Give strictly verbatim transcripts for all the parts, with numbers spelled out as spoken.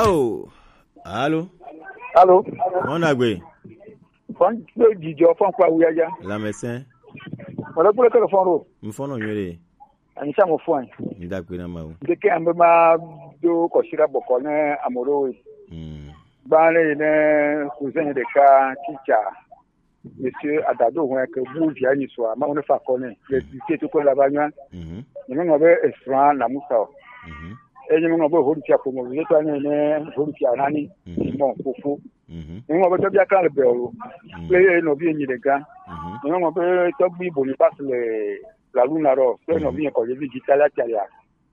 Oh, allô? Allô? Fɔn dagbe. Fɔn dagbe jijɔ fɔn kpa wuyaja. Lamɛsɛn. Mɔlɛ kple kele fɔn ɖo. N fɔn nɔ nyuie ɖe. Anyi sa mo fɔn. N dagbe na ma wo. Ndeke ambe ma do kɔsira bɔkɔ ne amoro. Hmm. Gbalẽ yi ne cousin ɖeka teacher. Monsieur Adado hɔn ke bu via ni soa ma wo ne fa kɔ ne. Le dite to ko la ba nya. Mhm. Ni mo be esra na musa o. Mhm. E ni mo be hori tia ko mo ye to ne ne hori tia nani. Mhm. Mo ko fo. Mhm. Nyɔnu be tɔgbi akra le bɛn o. Mhm. Kple ye nɔvi enyi ɖe gã. Mhm. Nyɔnu be tɔgbi Boniface le la luna ɖɔ kple nɔvi yɛ kɔdzevi dzi talia talia.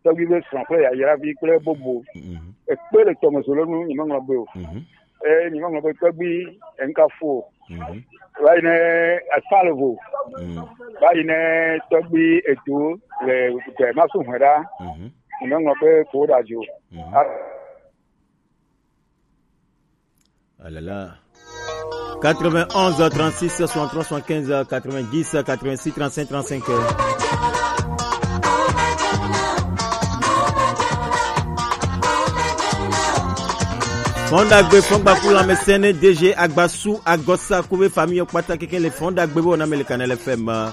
Tɔgbi be srɔ̃ kple yayravi kple bobo. Mhm. Ekpe le tɔme zo le nu nyɔnu be o. Mhm. E nyɔnu be tɔgbi enka fo. Mhm. Va yi ne asa le vo. Mhm. Va yi ne tɔgbi edo le gbɛ masu hwe ɖa. Mhm. Nyɔnu be ko ɖa dzo. Mhm. A- Ah là là. Quatre-vingt-onze, trente-six, soixante-trois, soixante-quinze, quatre-vingt-dix, quatre-vingt-six, trente-cinq, trente-cinq. Fɔn dagbe, fɔn gbaku, lamɛsɛnɛ, D G Agbasu, Agosa, kube famille, kpata keke le fɔn dagbe, bo na mele kanɛlɛ fɛ ma.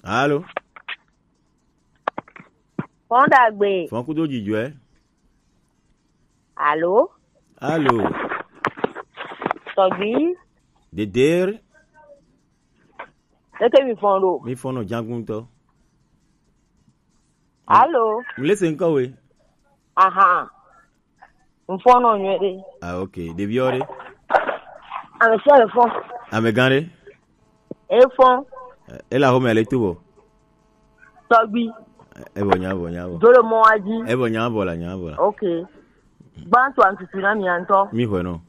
Allô? Fɔn dagbe. Fɔn kudo jijɔɛ. Allô? Allô? Tɔgbi. Deder. Eke mi fɔn ɖo. Mi fɔn nɔ janguntɔ. Allô? Mi le se nkɔ we. Aha. N fɔn nɔ nyuie ɖe. Ah, ok. Ɖeviwo ɖe? Ame sia le fɔn. Amegã ɖe? E fɔn. E le axome le to bɔ? Tɔgbi. E bɔ nya bɔ nya bɔ. Do le mɔ wa dzi. E bɔ nya bɔ la nya bɔ la. Ok. Gbãtɔ antutu na mia ŋutɔ. Mi xɔe nɔ.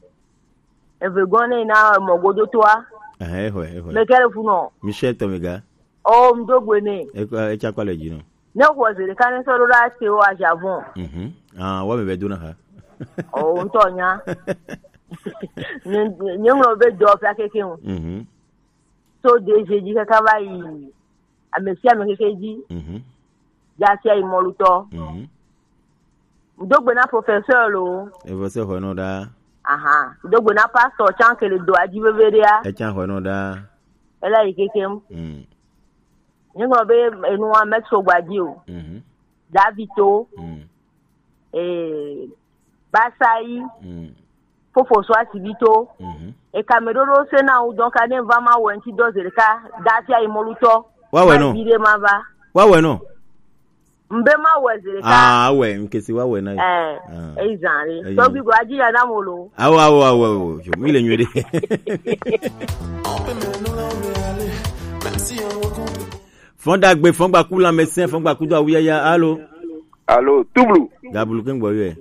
Eve gɔn ne na mɔ godo toa. Ɛhɛ, e xɔe, e xɔe. Me kɛ le fu nɔ. Michel Tomega. Oh, m do gbe nɛ. Ekɔ etsa kɔ le dzi nɔ. Ne xɔ zi ɖeka ne sɔ ɖo ɖa te wo aja vɔn. Mhm. Ah, wa me be do na ha. Oh, ŋutɔ nya. Nye nye ŋlɔ be dɔ fia keke o. Mhm. So D G dzi kaka va yi ame sia ame keke dzi. Mhm. Dza sia yi mɔlutɔ. Mhm. Ŋdo gbe na professeur lo. Evo se xɔe nɔ ɖa. Aha. Ŋdo gbe na pastor tsan ke le do adzi veve ɖea. Etsan xɔe nɔ ɖa. Ela yi kekem. Mm. Nyigblɔ be enua metso gba dzi o. Mhm. Davito. Mm. Eh, Basayi. Mm. Fofo so asibito. Mhm. Eka me ɖoɖo se na wo donc ane va ma wɔ ŋti dɔ zi ɖeka. Dafia yi mɔlutɔ. Wa wɛ nɔ. Ma vi ɖe ma va. Wa wɛ nɔ. Mbe ma wɛ zi ɖeka. Ah, wɛ, nkesi wa wɛ na yi. Eh, ah. Eyi zan ɖe. Eyi zan. Tɔgbi gba dzi ya na mo lo. Awo, awo, awo, awo. Yo, mi le nyuie ɖe. Fɔn dagbe, fɔn gbaku lamɛsɛn, fɔn gbaku do awu yaya. Alo. Alo, tublu. Gabulu kengbo yɛ.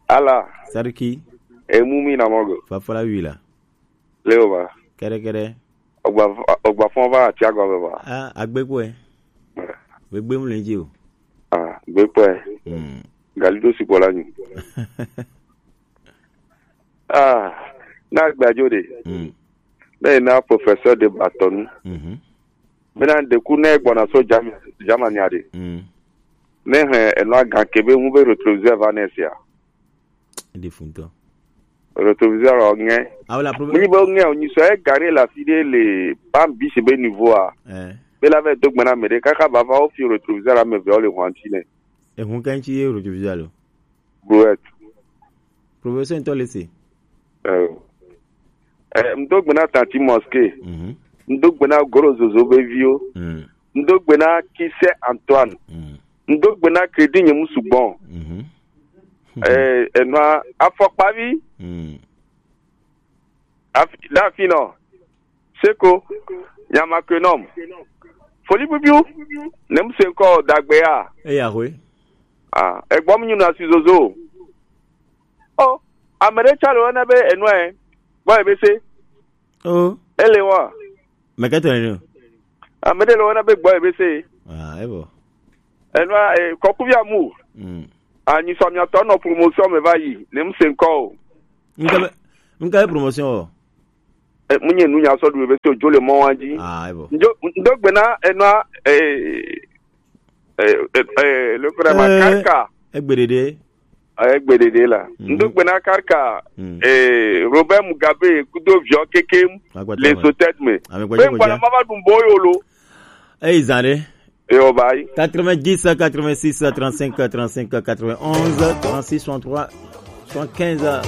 Ala. Sariki. Emu mi na mɔgo. Fafala wi la. Leo ba. Kɛrɛkɛrɛ. Ogba, ogba fɔn ba ati agɔ bɛ ba. Ah, agbe ko ɛ. Be gbe mu le dzi o. Ah, gbe ko ɛ. Hmm. Gali do si ko la nyu. Ah, na gbajo de. Hmm. Ne na professeur de batonu. Mhm. Bena deku ne gbɔna so Jam-, Germany ade. Mm. Ne he eno agan kebe ŋu be retroviseur va ne sia. Ede funtɔ. Retroviseur o ŋɛ. Awo la problème. Mini be ŋɛ o nyi so e gare la fi de le ban bi se be niveau a. Eh. Be la ve do gbena me de kaka va va o fi retroviseur ame ve o le hwanti ne. Ehun kan ti ye retroviseur lo. Brouette. Professeur ntɔ le se. Eh. Eh, ŋdo gbe na Tanti Mosquée. Mhm. Ŋdo gbe na Goro Zozo be viwo. Mm. Ŋdo gbe na Kise Antoine. Mm. Ŋdo gbe na Crédit Nyemusugbɔn. Mhm. Eh, enua afɔkpavi. Mm. Afi, la fi nɔ. Seko, nyama ke nɔm. Foli bibiu, ne mu se ŋkɔ dagbe ya. Eya hoe. Ah, egbɔ mu nyuna si zozo. Oh, ame ɖe tsã le wɔna be enua ɛ, gbɔ ebe se. Oh. Ele wa. Mekɛtɔ ne. Ame ɖe le wɔna be gbɔ ebe se. Ah, ebo. Enua, eh, kɔkuvi amu. Mm. Anyi sɔ miatɔ nɔ promotion me va yi, ne mu se ŋkɔ o. Ŋkɛ be, ŋkɛ be promotion o. Eh, munye nu nya sɔ du be so jo le mɔ wa ji. Ah, ebo. Ndo, ndo gbena, eh, no, eh, eh, eh, eh, le kura ma Eh, karka. Egbedede. Eh, egbedede la. Mhm. Ndo gbena karka, Mm. eh, Robert Mugabe, kudo vio kekem, Agbata le ma. So tête me. Ame Be gbata gbata. Mama du mbo yo lo. Eh, izane. Eh, o bai. Quatre-vingt-dix, quatre-vingt-six, trente-cinq, trente-cinq, quatre-vingt-onze, trente-six, soixante-trois, soixante-quinze.